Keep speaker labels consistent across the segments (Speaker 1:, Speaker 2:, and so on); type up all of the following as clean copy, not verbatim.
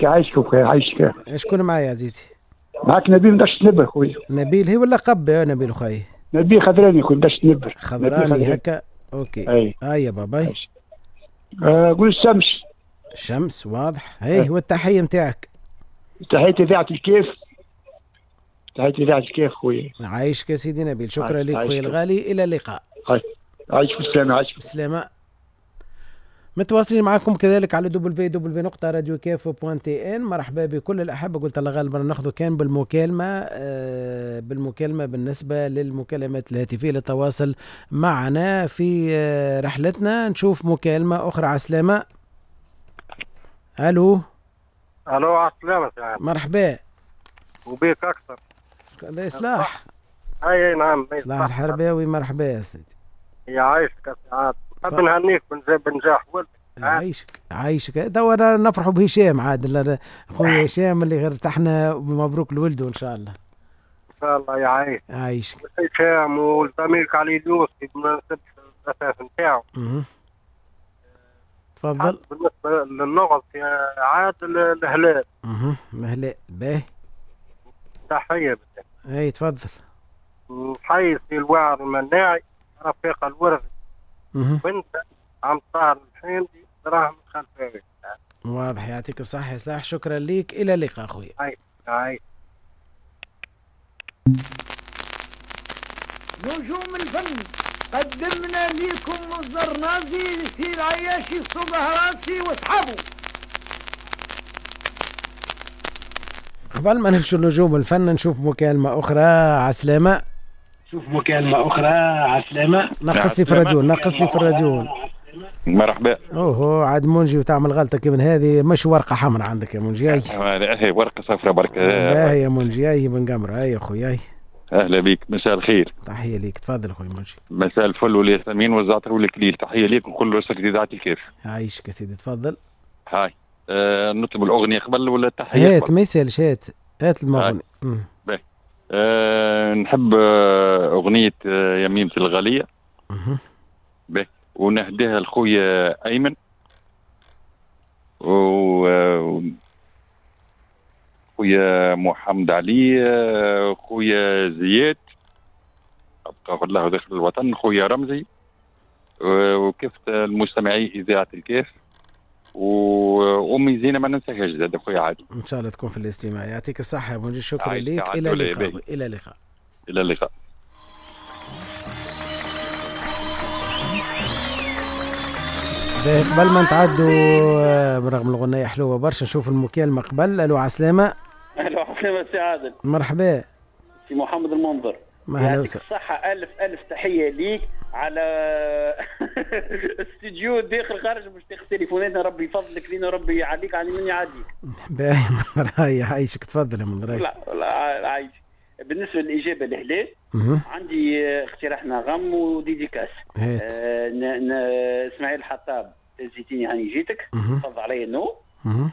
Speaker 1: عايشك خويا، عايشك.
Speaker 2: شكون معايا عزيزي؟
Speaker 1: معاك نبيل من دشت نبر خويا.
Speaker 2: نبيل هي ولا قب يا نبيل خويا؟
Speaker 1: نبيل خضراني خويا، دشت نبر.
Speaker 2: خضراني هكا، OK. اي يا بابا.
Speaker 1: قول الشمس.
Speaker 2: الشمس واضح. هي والتحيه نتاعك.
Speaker 1: تحية اذاعة الكيف. تحية اذاعة الكيف خويا.
Speaker 2: عايشك يا سيدي نبيل، شكرا لك خويا الغالي، الى اللقاء.
Speaker 1: عايشك بالسلامة. عايشك
Speaker 2: بالسلامة. متواصلين معكم كذلك على www.radiokef.tn. مرحبا بكل الأحبة. قلت الله غالبا ناخذ كان بالمكالمة، بالمكالمة بالنسبة للمكالمات الهاتفية للتواصل معنا في رحلتنا. نشوف مكالمة أخرى. عسلامة. ألو.
Speaker 3: ألو عسلامة.
Speaker 2: مرحبا.
Speaker 3: وبيك أكثر.
Speaker 2: هذا إصلاح.
Speaker 3: أي نعم،
Speaker 2: إصلاح الحرباوي. مرحبا يا سيدي.
Speaker 3: يعيشك يا سعاد. نحب نهنيك بنجاح ولدك.
Speaker 2: عايشك عايشك. توا نفرحوا بهشام عاد، خويا هشام اللي غير ارتحنا، مبروك لولده ان شاء الله.
Speaker 3: ان شاء الله يعيش.
Speaker 2: عايشك
Speaker 3: هشام وزميلك علي اليوسفي بمناسبة الأساس نتاعو.
Speaker 2: تفضل.
Speaker 3: بالنسبة للغز يا عادل الهلال.
Speaker 2: الهلال باهي.
Speaker 3: تحية.
Speaker 2: اي تفضل.
Speaker 3: نحيي سي الواعر المناعي رفيق الورث بنت عم طاهر الحمدي دراهم الخلفاوي.
Speaker 2: واضح، يعطيك الصحة يا سلاح، شكرا ليك، إلى اللقاء خويا.
Speaker 3: هاي.
Speaker 4: نجوم الفن قدمنا لكم الزرنازي سي العياشي الصبح راسي واصحابه.
Speaker 2: قبل ما نمشوا نجوم الفن نشوف مكالمة أخرى. عسلامة.
Speaker 5: شوف مكالمة أخرى. عسلامة.
Speaker 2: نقص لي في الراديو، نقص لي في الراديو.
Speaker 6: مرحبا.
Speaker 2: اوه عاد منجي وتعمل غلطة كي من هذه، مش ورقة حمراء عندك يا منجي.
Speaker 6: هي ورقة صفراء برك.
Speaker 2: باهي يا منجي، هي بن قمرة. هاي يا خويا.
Speaker 6: أهلا بك، مساء الخير.
Speaker 2: تحية ليك، تفضل خويا منجي.
Speaker 6: مساء الفل والياسمين والزعتر والكليل، تحية ليك وكل أسرة إذاعة الكيف.
Speaker 2: عايشك يا سيدي، تفضل.
Speaker 6: هاي نطلب الأغنية قبل ولا التحية؟
Speaker 2: هات ما يسالش، هات هات المغني.
Speaker 6: باهي. نحب أغنية يميمة الغالية. باهي، ونهديها لخويا أيمن خويا محمد علي، خويا زياد أبقى الله داخل الوطن، خويا رمزي، وكيف المستمعي إذاعة الكيف، وأمي زينة ما ننساهاش زاد خويا عادل.
Speaker 2: إن شاء الله تكون في الاستماع. يعطيك الصحة يا منجي، شكرا ليك، إلى اللقاء. إلى اللقاء.
Speaker 6: إلى اللقاء.
Speaker 2: قبل ما نتعدوا برغم الغنية حلوة برشا نشوف المكالمة قبل. ألو عسلامة.
Speaker 5: ألو عسلامة سي عادل.
Speaker 2: مرحبا.
Speaker 5: سي محمد المنظر. يعطيك الصحة، ألف ألف تحية ليك على استوديو داخل خارج باش تاخذ تليفوناتنا، ربي يفضلك لينا وربي يعليك على من يعديك.
Speaker 2: باهي منظر، عايشك، تفضل يا منظر.
Speaker 5: لا لا عايش. بالنسبة للإجابة الهلال عندي اقتراح نغم و dédicace. اسماعيل الحطاب زيتيني هاني جيتك، تفضل علي النو.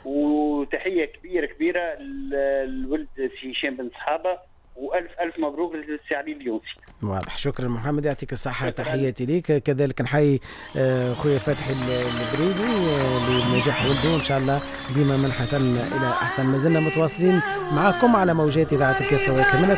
Speaker 5: وتحية كبيرة كبيرة للولد سي هشام بن صحابة، والف الف مبروك للسي علي اليونسي.
Speaker 2: واضح، شكرا محمد، يعطيك الصحة، تحياتي ليك. كذلك نحيي خويا فتحي البريدي لنجاح ولده، ان شاء الله ديما من حسن الى احسن. ما زلنا متواصلين معكم على موجات اذاعة الكاف.